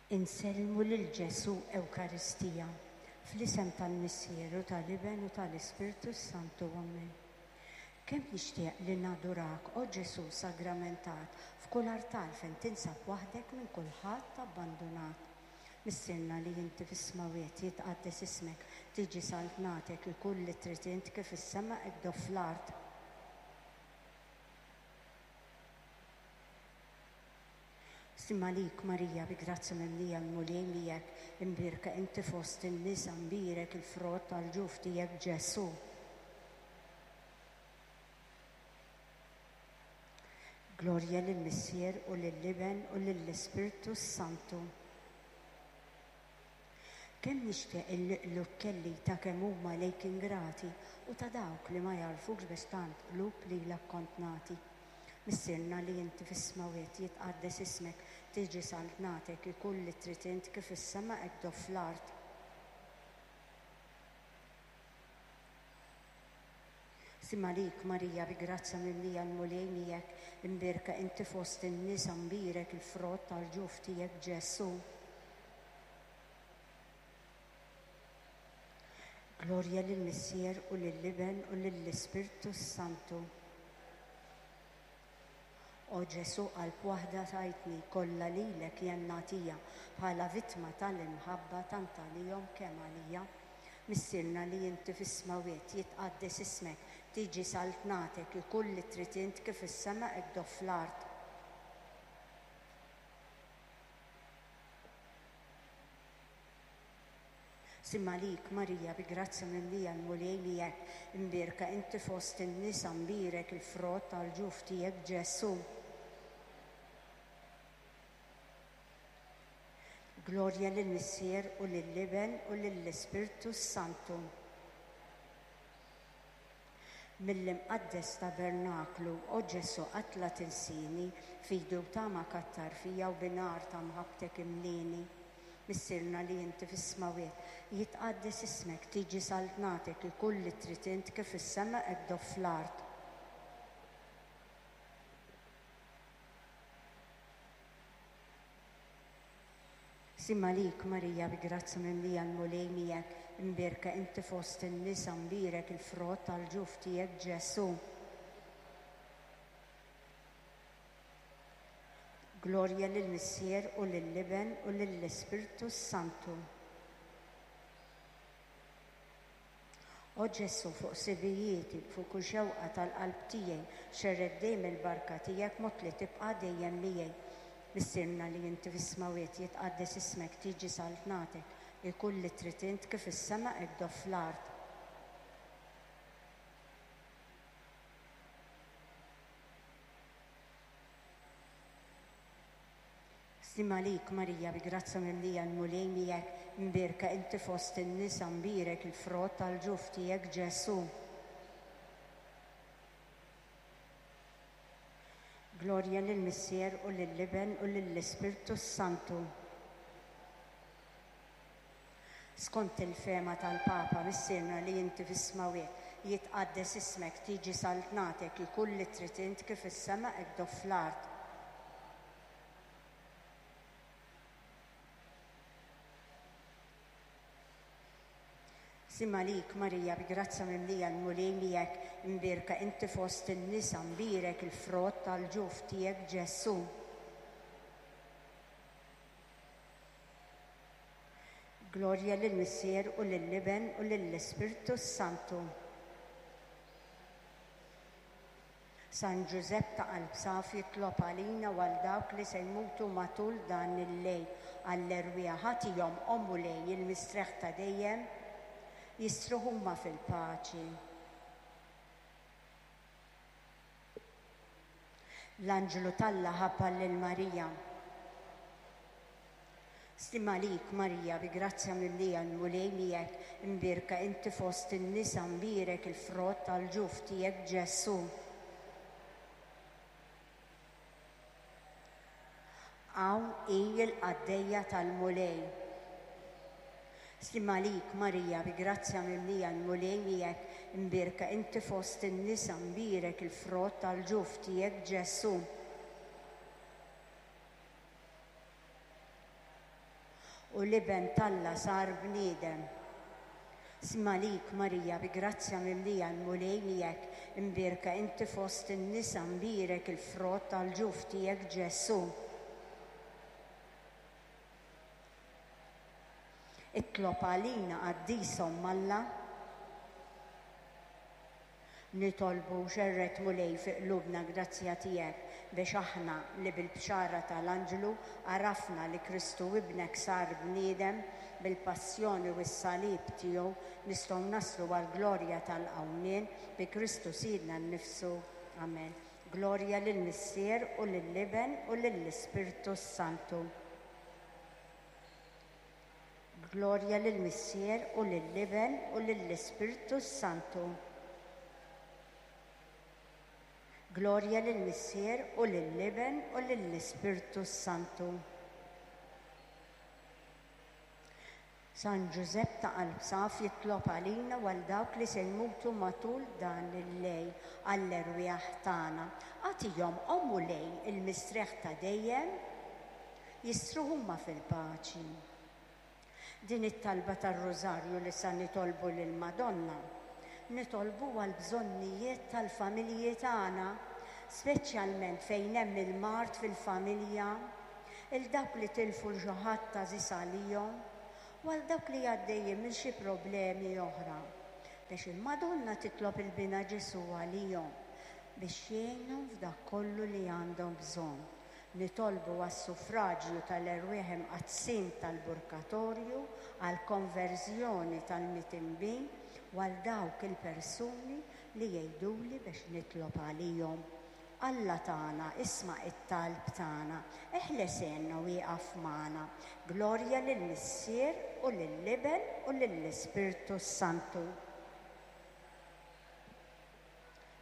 Insellmu lil Ġesù Ewkaristija, fl-isem tal-Missier u tal-Iben u tal-Ispirtu s-Santu. Amen. Kemm nixtieq li nadurak, o Ġesù sagramentat, f'kull artal fejn tinsab waħdek minn kulħadd abbandunat. Missierna li inti fis-smawwiet, jitqaddes ismek, tiġi saltnatek, ikun li trid int kif fis-sema hekk do fl-art. Slim għalik Marija bi grazzja mimlija l-Mulej miegħek, imbierka inti fost in-nisa mbierek il-frott tal-ġuf tiegħek Ġesù. Glorja lill-Missier u lill-Iben u lill-Ispirtu s-Santu. Kemm nixtieq illi qlub kelli ta' kemm huma lejk ingrati u ta' dawk li ma jagħrfukx biex tant qlub lilek kont nagħti. Missierna li inti fis-smawwiet, jitqaddes ismek, tiġi saltnatek, ikun li trid int kif fis-sema hekk do fl-art. Slim għalik Marija bi grazzja mimlija l-Mulej miegħek, imbierka inti fost in-nisa mbierek il-frott tal-ġuf tiegħek Ġesù. Glorja lill-Missier u lill-Iben u lill-Ispirtu s-Santu. O Ġesù qalb waħda tajtni, kollha lilek jien nagħtiha, bħala vittma tal-imħabba tant għalihom kemm għalija. Missierna li inti fis-smawwiet, jitqaddes ismek, tiġi saltnatek, ikun li trid int kif fis-sema hekk do fl-art. Slim għalik, Marija, bi grazzja mimlija l-Mulej miegħek, imbierka inti fost in-nisa, mbierek il-frott tal-ġuf tiegħek, Ġesù. Glorja lill-Missier u lill-Iben u lill-Ispirtu s-Santu. Mill-imqaddes tabernaklu, o Ġesù qatt la tinsini, fidi u tama kattar fija u bi nar ta' mħabbtek imlieni. Missierna li inti fis-smawwiet, jitqaddes ismek, tiġi saltnatek, ikun li trid int kif fis-sema hekk do fl-art. Slim għalik, Marija, bi grazzja mimlija l-Mulej miegħek, imbierka inti fost in-nisa, mbierek il-frott tal-ġuf tiegħek, Ġesù. Glorja lill-Missier u lill-Iben u lill-Ispirtu s-Santu. O Ġesù, fuq sibijieti, fuq kull xewqa tal-qalb tiegħi, xerred dejjem il-barka tiegħek mod li tibqa' dejjem miegħi. Missierna li inti fis-smawwiet, jitqaddes ismek, tiġi saltnatek, ikun li trid int kif fis-sema hekk do fl-art. Slim għalik, Marija, bi grazzja mimlija l-Mulej miegħek, imbierka inti fost in-nisa, mbierek il-frott tal-ġuf tiegħek, Ġesù. Glorja lill-Missier u lill-Iben u lill-Ispirtu s-Santu. Skont il-fehma tal-Papa, Missierna li inti fis-smawwiet, jitqaddes ismek, tiġi saltnatek, ikun li trid int kif fis-sema hekk do fl-art. Slim għalik, Marija, bi grazzja mimlija l-Mulej miegħek, imbierka inti fost in-nisa, mbierek il-frott tal-ġuf tiegħek, Ġesù. Glorja lill-Missier u lill-Iben u lill-Ispirtu s-Santu. San Ġużepp ta' qalb safi itlob għalina u għal dawk li se jmutu matul dan il-lejl, għall-erwieħ agħtihom, o Mulej, il-mistrieħ ta' dejjem, jistrieħu huma fil-paċi. L-anġlu t'Alla ħabbar lil Marija. Slim għalik, Marija, bi grazzja mimlija l-Mulej miegħek, imbierka inti fost in-nisa, mbierek il-frott tal-ġuf tiegħek, Ġesù. Hawn hi l-qaddejja tal-Mulej. Slim għalik, Marija, bi grazzja mimlija l-Mulej miegħek, imbierka inti fost in-nisa, mbierek il-frott tal-ġuf tiegħek, Ġesù. U l-Iben t'Alla sar bniedem. Sma lik, Marija, bi grazzja mimlija l-Mulej miegħek, imbierka inti fost in-nisa, mbierek il-frott tal-ġuf tiegħek Ġesù. Itlob għalina qaddisa Omm Alla. Nitolbu, xerred Mulej fi qlubna grazzja tiegħek biex aħna li bil-bxara tal-anġlu għarafna li Kristu Ibnek sar bniedem bil-passjoni u s-salib tiegħu nistgħu naslu għall-glorja tal-qawmien bi Kristu Sidna nnifsu. Amen. Glorja lill-Missier u lill-Iben u lill-Ispirtu s-Santu. Glorja lill-Missier u lill-Iben u lill-Ispirtu s-Santu. Glorja lill-Missier u lill-Iben u lill-Ispirtu s-Santu. San Ġużepp ta' qalb saf jitlob għalina u għal dawk li se jmutu matul dan il-lejl għall-erwieħ tagħna. Agħtihom, o Mulej, il-mistrieħ ta' dejjem, jistrieħu huma fil-paċi. Din it-talba tar-Rużarju li sa nitolbu lill-Madonna, nitolbuha għall-bżonnijiet tal-familji tagħna, speċjalment fejn hemm il-mard fil-familja, 'il dawk li tilfu 'l xi ħadd għażiż għalihom u għal dawk li għaddejjin minn xi problemi oħra, biex il-Madonna titlob 'il Binha Ġesù għalihom biex jgħinhom f'dak kollu li għandhom bżonn. Nitolbu għas-suffraġju tal-erwieħ imqaddsin tal-Purgatorju, għall-konverżjoni tal-mitinbin u għal dawk il-persuni li jgħiduli biex nitlob għalihom. Alla tagħna, isma' t-talb tagħna, eħles għenna u ieqaf magħna. Glorja lill-Missier u lill-Iben u lill-Ispirtu s-Santu.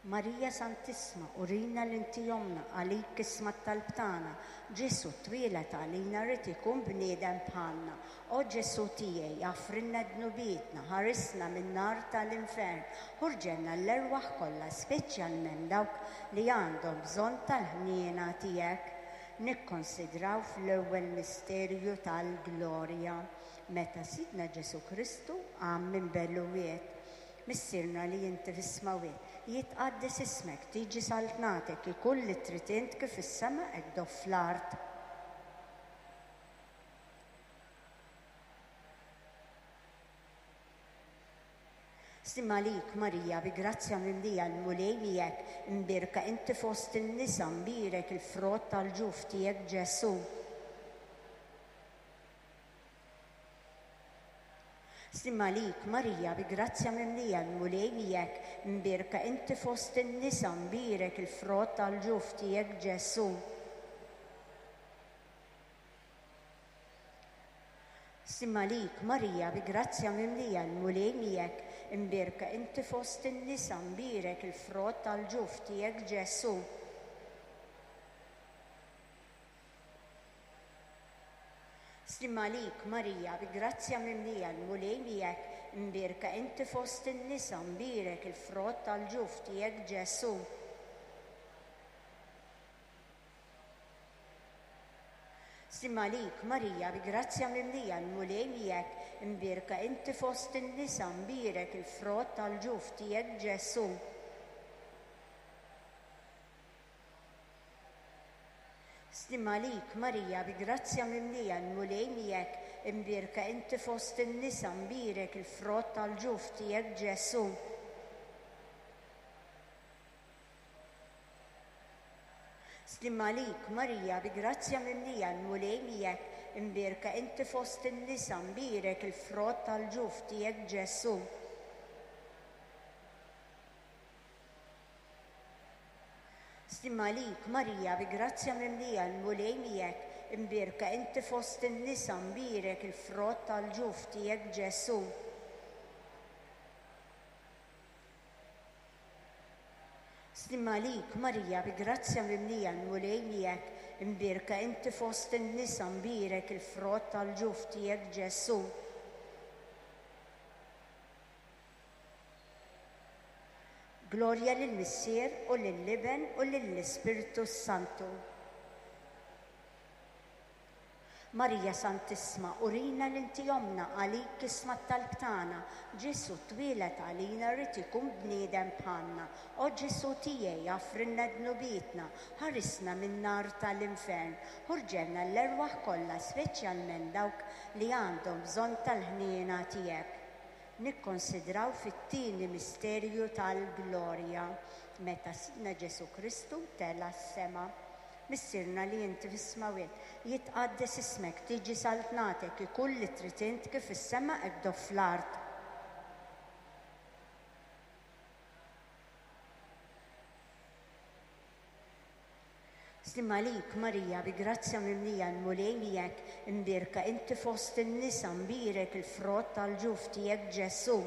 Marija Santissma, urina li inti ommna, għalik isma' t-talb tagħna. Ġesù twieled għalina ried ikun bniedem bħalna. O Ġesù tiegħi, aħfrilna dnubietna, ħarisna min-nar tal-infern, ħurġelna l-erwaħ kollha, speċjalment dawk li għandhom bżonn tal-ħniena tiegħek. Nikkonsidraw fl-ewwel misterju tal-glorja, meta Sidna Ġesù Kristu qam minn bel-uwied. Missierna li inti fis-smawwiet, jitqaddes ismek, tiġi saltnatek, ikun li trid int kif fis-sema hekk do fl-art. Slim għalik, Marija, bi grazzja mimlija l-Mulej miegħek, imbierka inti fost in-nisa, mbierek il-frott tal-ġuf tiegħek Ġesù. Slim għalik, Marija, bi grazzja mimlija l-Mulej miegħek, imbierka inti fost in-nisa, mbierek il-frott tal-ġuf tiegħek Ġesù. Slim għalik, Marija, bi grazzja mimlija l-Mulej miegħek, imbierka inti fost in-nisa, mbierek il-frott tal-ġuf tiegħek Ġesù. Slim għalik, Marija, bi grazzja mimlija l-Mulej miegħek, imbierka inti fost in-nisa, mbierek il-frott tal-ġuf tiegħek Ġesù. Slim għalik, Marija, bi grazzja mimlija l-Mulej miegħek, imbierka inti fost in-nisa, mbierek il-frott tal-ġuf tiegħek Ġesù. Slim għalik, Marija, bi grazzja mimlija l-Mulej miegħek, imbierka inti fost in-nisa, mbierek il-frott tal-ġuf tiegħek Ġesù. Slim għalik, Marija, bi grazzja mimlija l-Mulej miegħek, imbierka inti fost in-nisa, mbierek il-frott tal-ġuf tiegħek Ġesù. Slim għalik, Marija, bi grazzja mimlija l-Mulej miegħek, imbierka inti fost in-nisa, mbierek il-frott tal-ġuf tiegħek Ġesù. Slim għalik, Marija, bi grazzja mimlija l-Mulej miegħek, imbierka inti fost in-nisa, mbierek il-frott tal-ġuf tiegħek Ġesù. Glorja lill-Missier u lill-Iben u lill-Ispirtu s-Santu. Marija Santissma, urina li inti ommna, għalik isma' t-talb tagħna. Ġesù twieled għalina ried ikun bniedem bħalna. O Ġesù tiegħi, aghfrilna dnubietna, ħarisna min-nar tal-infern, ħurġelna l-erwaħ kollha, speċjalment dawk li għandhom bżonn tal-ħniena tiegħek. Nikkonsidraw fit-tieni misterju tal-glorja, meta Sidna Ġesù Kristu tela' s-sema. Missierna li inti fis-smewwiet, jitqaddes ismek, tiġi saltnatek, ikun li trid int kif fis-sema hekk fl-art. Sliem għalik, Marija, bi grazzja mimlija l-Mulej miegħek, imbierka inti fost in-nisa, mbierek il-frott tal-ġuf tiegħek Ġesù.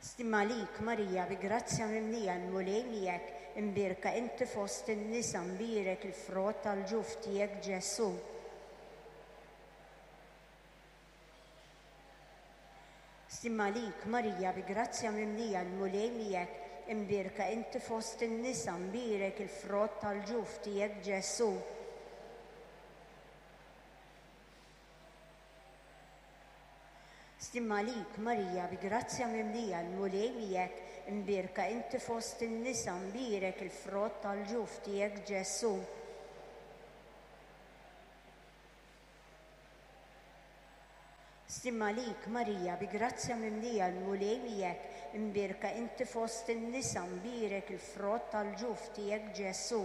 Sliem għalik, Marija, bi grazzja mimlija l-Mulej miegħek, imbierka inti fost in-nisa, mbierek il-frott tal-ġuf tiegħek Ġesù. Sliem għalik, Marija, bi grazzja mimlija l-Mulej miegħek, imbierka inti fost in-nisa, mbierek il-frott tal-ġuf tiegħek Ġesù. Sliem għalik, Marija, bi grazzja mimlija l-Mulej miegħek, imbierka inti fost in-nisa, mbierek il-frott tal-ġuf tiegħek Ġesù. Sliem għalik, Marija, bi grazzja mimlija l-Mulej miegħek, imbierka inti fost in-nisa, mbierek il-frott tal-ġuf tiegħek Ġesù.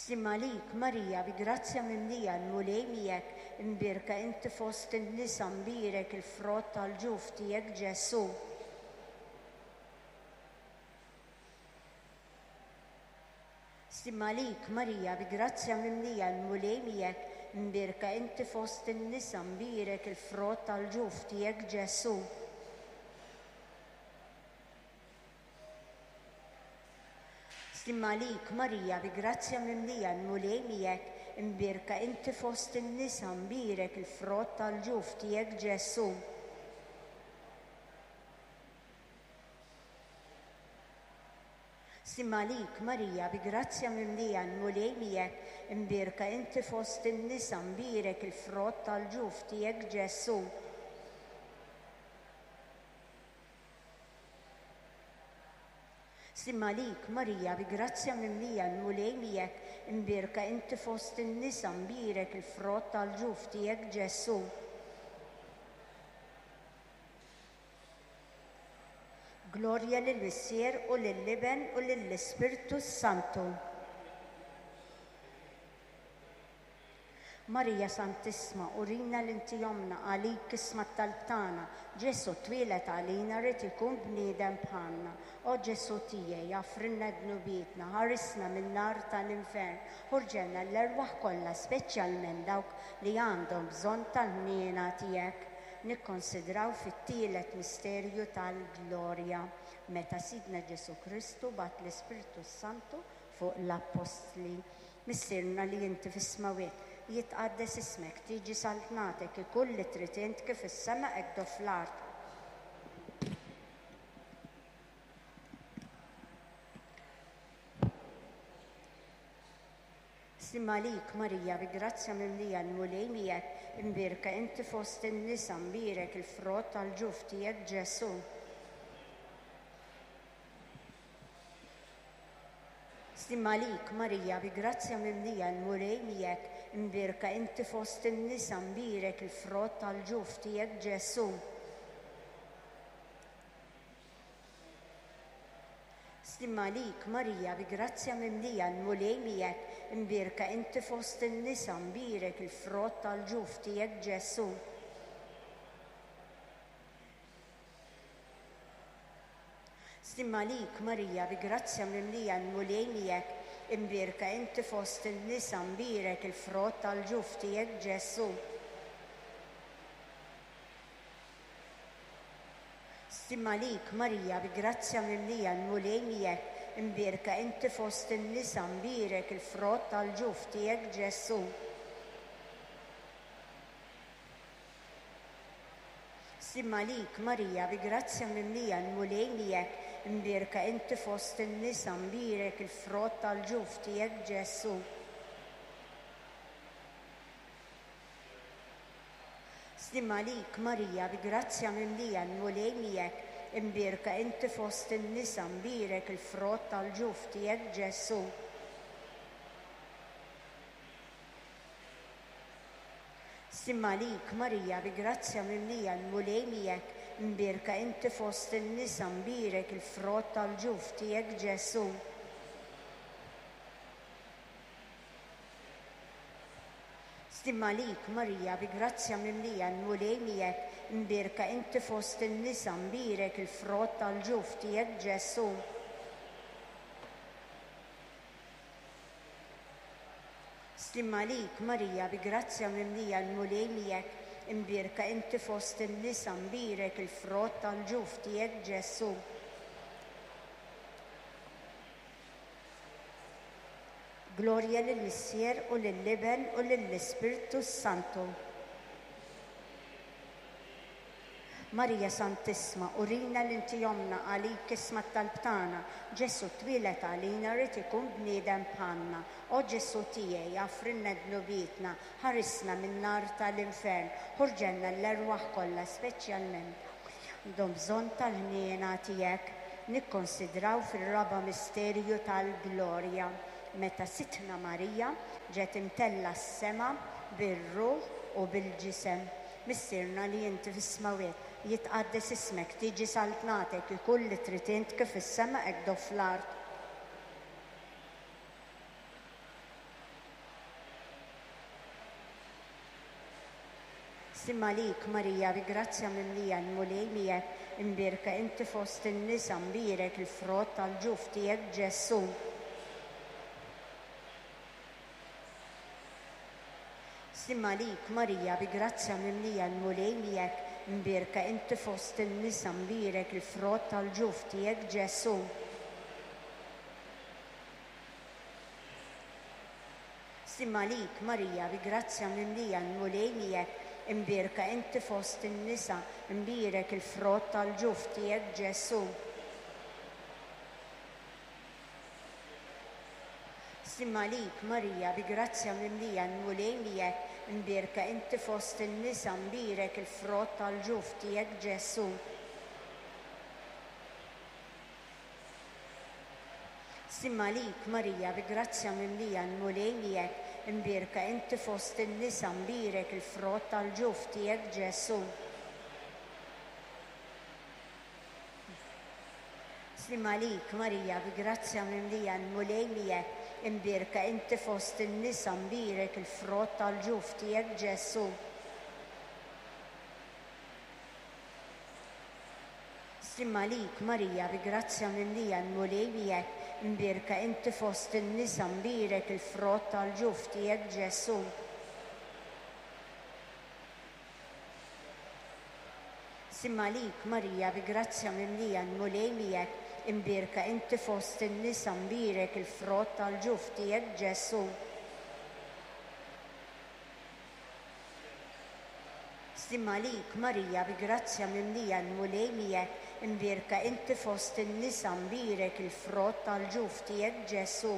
Sliem għalik, Marija, bi grazzja mimlija l-Mulej miegħek, imbierka inti fost in-nisa, mbierek il-frott tal-ġuf tiegħek Ġesù. Sliem għalik, Marija, bi grazzja mimlija l-Mulej miegħek, imbierka inti fost in-nisa, mbierek il-frott tal-ġuf tiegħek Ġesù. Sliem għalik, Marija, bi grazzja mimlija l-Mulej miegħek, imbierka inti fost in-nisa, mbierek il-frott tal-ġuf tiegħek Ġesù. Sliem għalik, Marija, bi grazzja mimlija l-Mulej miegħek, imbierka inti fost in-nisa, mbierek il-frott tal-ġuf tiegħek Ġesù. Sliem għalik, Marija, bi grazzja mimlija l-Mulej miegħek, imbierka inti fost in-nisa, mbierek il-frott tal-ġuf tiegħek Ġesù. Glorja lill-Missier u lill-Iben u lill-Ispirtu s-Santu. Marija Santissma, urina li inti ommna, għalik isma' t-talb tagħna. Ġesù twieled għalina ried ikun bniedem bħalna. O Ġesù tiegħi, aghfrilna dnubietna, ħarisna min-nar tal-infern, ħurġelna l-erwaħ kollha, speċjalment dawk li għandhom bżonn tal-ħniena tiegħek. Nikkonsidraw fit-tielet misterju tal-glorja, meta Sidna Ġesù Kristu bagħat l-Ispirtu s-Santu fuq l-appostli. Missierna li inti fis-smewwiet, jitqaddes ismek, tiġi saltnatek, ikun li trid int kif fis-sema hekk fl-art. Sliem għalik, Marija, bi grazzja mimlija l-Mulej miegħek, imbierka inti fost in-nisa, mbierek il-frott tal-ġuf tiegħek Ġesù. Sliem għalik, Marija, bi grazzja mimlija l-Mulej miegħek, imbierka inti fost in-nisa, mbierek il-frott tal-ġuf tiegħek Ġesù. Sliem għalik, Marija, bi grazzja mimlija l-Mulej miegħek, imbierka inti fost in-nisa, mbierek il-frott tal-ġuf tiegħek Ġesù. Sliem għalik, Marija, bi grazzja mimlija l-Mulej miegħek, imbierka inti fost in-nisa, mbierek il-frott tal-ġuf tiegħek Ġesù. Sliem għalik, Marija, bi grazzja mimlija l-Mulej miegħek, imbierka inti fost in-nisa, mbierek il-frott tal-ġuf tiegħek Ġesù. Sliem għalik, Marija, bi grazzja mimlija, l-Mulej miegħek, imbierka inti fost in-nisa, mbierek il-frott tal-ġuf tiegħek Ġesù. Sliem għalik, Marija, bi grazzja mimlija, l-Mulej miegħek, imbierka inti fost in-nisa, mbierek il-frott tal-ġuf tiegħek Ġesù. Sliem għalik, Marija, bi grazzja mimlija, l-Mulej miegħek, imbierka inti fost in-nisa, mbierek il-frott tal-ġuf tiegħek Ġesù. Sliem għalik, Marija, bi grazzja mimlija, l-Mulej miegħek, imbierka inti fost in-nisa, mbierek il-frott tal-ġuf tiegħek Ġesù. Sliem għalik, Marija, bi grazzja mimlija, l-Mulej miegħek, imbierka inti fost in-nisa, mbierek il-frott tal-ġuf tiegħek Ġesù. Glorja lill-Missier u lill-Iben u lill-Ispirtu s-Santu. Marija Santissma, urina li inti ommna, għalik isma' t-talb tagħna. Ġesù twieled għalina ried ikun bniedem bħalna. O Ġesù tiegħi, aghfrilna dnubietna, ħarisna min-nar ta' l-infern, ħurġelna l-erwaħ kollha speċjalment dawk li għandhom bżonn tal-ħniena tiegħek. Nikkonsidraw fir-raba' misterju tal-glorja, meta Sidtna Marija ġiet imtellgħa s-sema bir-ruħ u bil-ġisem. Missierna li inti fis-smewwiet, jitqaddes ismek, tiġi saltnatek, ikun li trid int kif fis-sema hekk do fl-art. Sliem għalik, Marija, bi grazzja mimlija, l-Mulej miegħek, imbierka inti fost in-nisa, mbierek il-frott tal-ġuf tiegħek, Ġesù. Sliem għalik, Marija, bi grazzja mimlija, l-Mulej miegħek, imbierka inti fost in-nisa, mbierek il-frott tal-ġuf tiegħek, Ġesù. Sliem għalik, Marija, bi grazzja mimlija, l-Mulej miegħek, imbierka inti fost in-nisa, mbierek il-frott tal-ġuf tiegħek, Ġesù. Sliem għalik, Marija, bi grazzja mimlija, l-Mulej miegħek, imbierka inti fost in-nisa, mbierek il-frott tal-ġuf tiegħek, Ġesù. Sliem għalik, Marija, bi grazzja mimlija, l-Mulej miegħek, imbierka inti fost in-nisa, mbierek il-frott tal-ġuf tiegħek, Ġesù. Sliem għalik, Marija, bi grazzja mimlija, l-Mulej miegħek, imbierka inti fost in-nisa, mbierek il-frott tal-ġuf tiegħek, Ġesù. Sliem għalik, Marija, bi grazzja mimlija, l-Mulej miegħek, imbierka inti fost in-nisa, mbierek il-frott tal-ġuf tiegħek, Ġesù. Sliem għalik, Marija, bi grazzja mimlija, l-Mulej miegħek, imbierka inti fost in-nisa, mbierek il-frott tal-ġuf tiegħek, Ġesù. Sliem għalik, Marija, bi grazzja mimlija, l-Mulej miegħek, imbierka inti fost in-nisa, mbierek il-frott tal-ġuf tiegħek, Ġesù.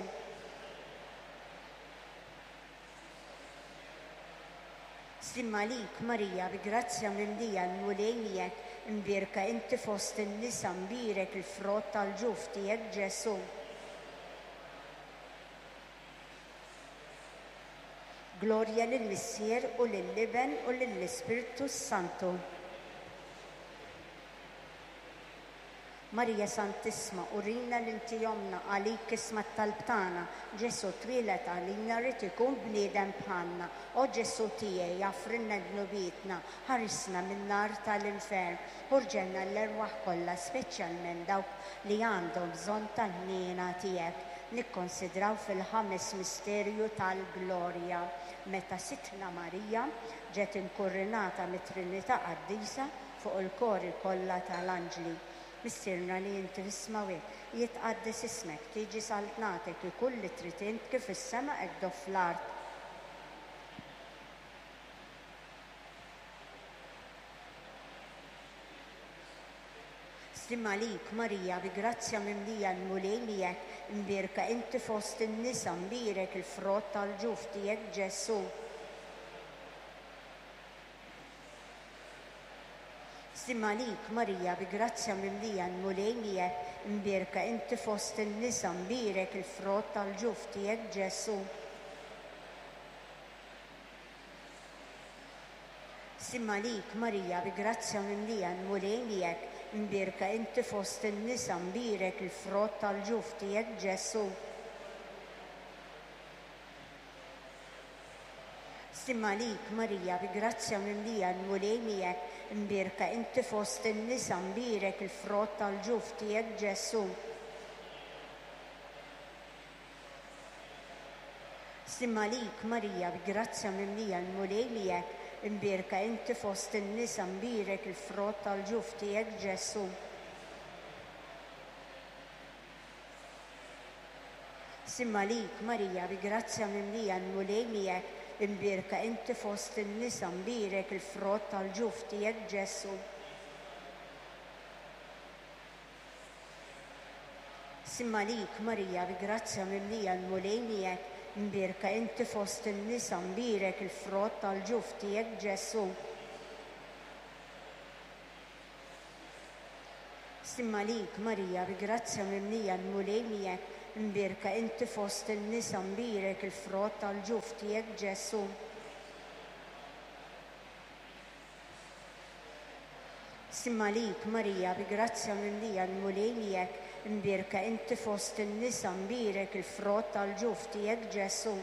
Sliem għalik, Marija, bi grazzja mimlija, l-Mulej miegħek, imbierka inti fost in-nisa, mbierek il-frott tal-ġuf tiegħek, Ġesù. Glorja lill-Missier u lill-Iben u lill-Ispirtu s-Santu. Marija Santissma, urina li inti ommna, għalik isma' t-talb tagħna. Ġesù twieled għalina ried ikun bniedem bħalna. O Ġesù tiegħi, aghfrilna dnubietna, ħarisna min-nar ta' l-infern, ħurġelna l-erwaħ kollha, speċjalment dawk li għandhom bżonn tal-ħniena tiegħek. Nikkonsidraw fil-ħames misterju tal-glorja, meta Sidtna Marija ġiet inkurrinata mit-Trinità Qaddisa fuq il-kori kollha ta' l-anġli. Missierna li inti fis-smewwiet, jitqaddes ismek, tiġi saltnatek, ikun li trid int kif fis-sema hekk do fl-art. Sliem għalik, Marija, bi grazzja mimlija l-Mulej miegħek, imbierka inti fost in-nisa, mbierek il-frott tal-ġuf tiegħek Ġesù. Sliem għalik, Marija, bi grazzja mimlija l-Mulej miegħek, imbierka inti fost in-nisa, mbierek il-frott tal-ġuf tiegħek Ġesù. Sliem għalik, Marija, bi grazzja mimlija l-Mulej miegħek, imbierka inti fost in-nisa, mbierek il-frott tal-ġuf tiegħek Ġesù. Sliem għalik, Marija, bi grazzja mimlija l-Mulej miegħek, imbierka inti fost in-nisa, mbierek il-frott tal-ġuf tiegħek Ġesù. Sliem għalik, Marija, bi grazzja mimlija l-Mulej miegħek, imbierka inti fost in-nisa, mbierek il-frott tal-ġuf tiegħek Ġesù. Sliem għalik, Marija, bi grazzja mimlija l-Mulej miegħek, imbierka inti fost in-nisa, mbierek il-frott tal-ġuf tiegħek Ġesù. Sliem għalik, Marija, bi grazzja mimlija l-Mulej miegħek, imbierka inti fost in-nisa, mbierek il-frott tal-ġuf tiegħek Ġesù. Sliem għalik, Marija, bi grazzja mimlija l-Mulej miegħek, imbierka inti fost in-nisa, mbierek il-frott tal-ġuf tiegħek Ġesù. Sliem għalik, Marija, bi grazzja mimlija l-Mulej miegħek, imbierka inti fost in-nisa, mbierek il-frott tal-ġuf tiegħek Ġesù.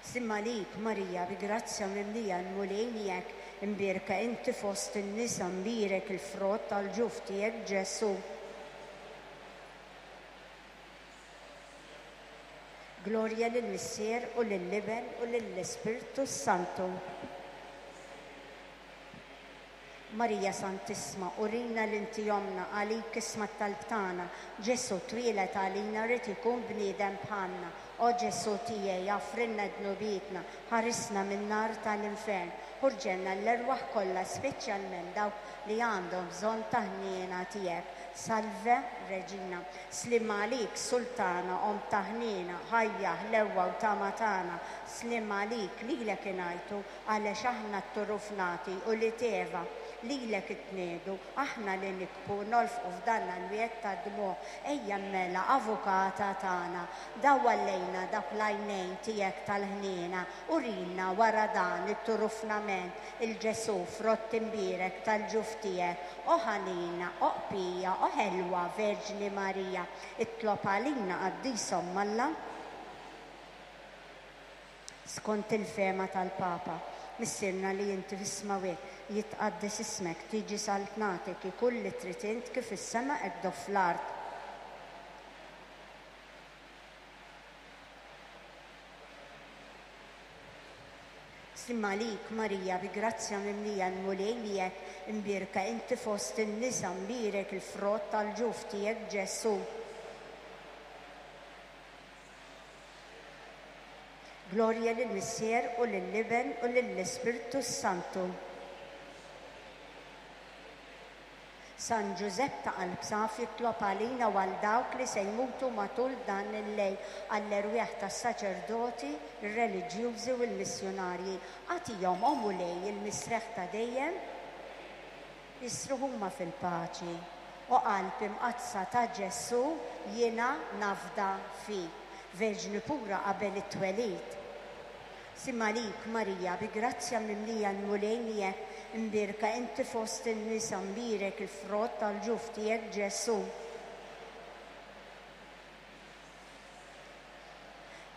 Sliem għalik, Marija, bi grazzja mimlija l-Mulej miegħek, imbierka inti fost in-nisa, mbierek il-frott tal-ġuf tiegħek Ġesù. Glorja lill-Missier u lill-Iben u lill-Ispirtu s-Santu. Marija Santissma, urina li inti ommna, għalik isma' t-talb tagħna. Ġesù twieled għalina ried ikun bniedem bħalna. O Ġesù tiegħi, aghfrilna dnubietna, ħarisna min-nar tal-infern. Ħurġelna l-erwaħ kollha, speċjalment dawk li għandhom bżonn ta' ħniena tiegħek. Salve, Reġina. Sliem għalik, Sultana, Omm ta' ħniena, ħajja, ħlewwa u tama tagħna. Sliem għalik, lilek ingħajtu, għalex aħna t-turufnati u li t'Eva. Lilek itniegħdu, aħna li nikbu, nolfqu f'dan l-wied tad-dmugħ. Ejja mela, Avukata tagħna, dawwal lejna dawk l-għajnejn tiegħek tal-ħniena, urina wara dan it-turufnament il-Ġesù, frott imbierek tal-ġuf tiegħek. O ħanina, o qpija, o ħelwa Verġni Marija, itlob għalina Qaddisa Omm Alla. Skont il-fehma tal-Papa, Missierna li inti fis-smawwiet, jitqaddes ismek, tiġi saltnatek, ikun li trid int kif fis-sema hekk fl-art. Sliem għalik, Marija, bi grazzja mimlija l-Mulej miegħek, imbierka inti fost in-nisa, mbierek il-frott tal-ġuf tiegħek Ġesù. Glorja lill-Missier u lill-Iben u lill-Ispirtu s-Santu. San Ġużepp ta' qalb safi itlob għalina u għal dawk li se jmutu matul dan il-lejl, għall-erwieħ tas-saċerdoti, ir-reliġjużi u l-missjunarji. Agħtihom, o Mulej, il-mistrieħ ta' dejjem, jistrieħu huma fil-paċi. O Qalb Imqaddsa ta' Ġesù, jiena nafda fik. Verġni pura qabel it-twelid. Sliem għalik, Marija, bi grazzja mimlija l-Mulej miegħek, imbierka inti fost in-nisa, mbierek il-frott tal-ġuf tiegħek Ġesù.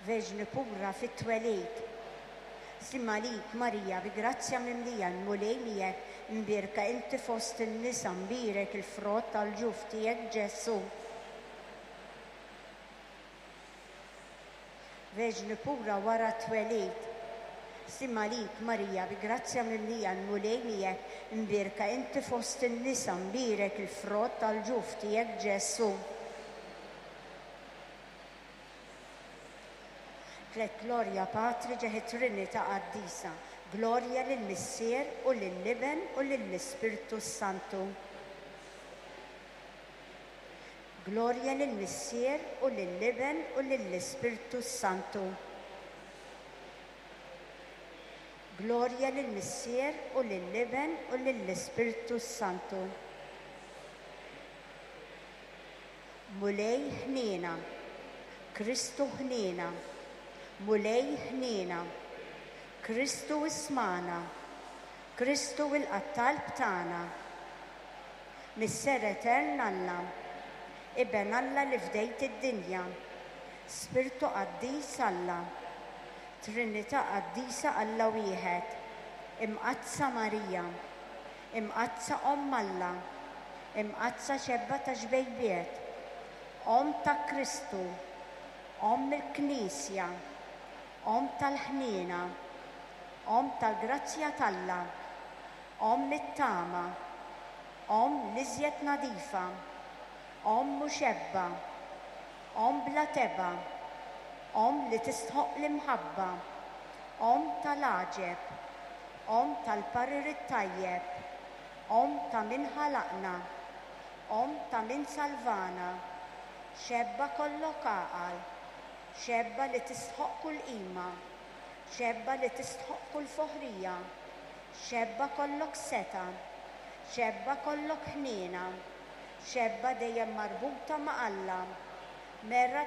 Verġni pura fit-twelid. Sliem għalik, Marija, bi grazzja mimlija l-Mulej miegħek, imbierka inti fost in-nisa, mbierek il-frott tal-ġuf tiegħek Ġesù. Verġni pura wara t-twelid. Sliem għalik, Marija, bi grazzja mimlija l-Mulej miegħek, imbierka inti fost in-nisa, mbierek il-frott tal-ġuf tiegħek Ġesù. Tlet Glorja Patri ġeħi Trinità Qaddisa. Glorja lill-Missier u lill-Iben u lill-Ispirtu s-Santu. Glorja lill-Missier u lill-Iben u lill-Ispirtu s-Santu. Glorja lill-Missier u lill-Iben u lill-Ispirtu s-Santu. Mulej ħniena, Kristu ħniena, Mulej ħniena, Kristu ismagħna, Kristu ilqa' t-talb tagħna. Missier Etern Alla, Iben Alla li fdejt id-dinja, Spirtu Qaddis Alla, Trinità Qaddisa Alla Wieħed, Imqaddsa Marija, Imqaddsa Omm Alla, Imqaddsa Xebba ta' Xbejbiet, Omm ta' Kristu, Omm il-Knisja, Omm tal-ħniena, Omm tal-grazzja t'Alla, Omm it-tama, Omm l-iżjed nadifa, Omm u xebba, Omm bla tebgħa, Omm li tistħoqq l-imħabba, Omm tal-għaġeb, Omm tal-parir it-tajjeb, Omm ta' min ħalaqna, Omm ta' min salvana, xebba kollok għaqal, xebba li tistħoqq kull qima, xebba li tistħoqq kull foħrija, xebba kollok setgħa, xebba kollok ħniena, xebba dejjem marbuta ma' Alla, mera.